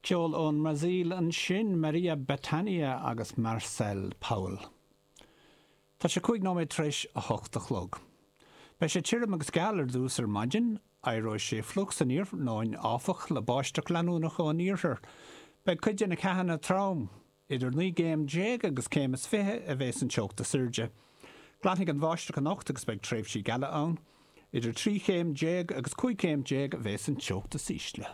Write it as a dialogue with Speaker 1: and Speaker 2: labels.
Speaker 1: Ceol ón mBrasaíl ansin, Maria Bethânia agus Marcel Powell. Tá sé 5 nóiméad tar éis a hocht a chlog. Beidh sé tirim agus geal ar dtús ar maidin, éireoidh sé fliuch san iarnóin áfach, le báisteach leanúnach ón iarthar. Beidh cuid de na ceathanna trom. Idir 19 gcéim agus céim is 20 a bheas an teocht is airde. Glanfaidh an bháisteach anocht agus beidh tréimhsí geala ann. Idir 13 chéim agus 15 chéim a bheas an teocht is ísle.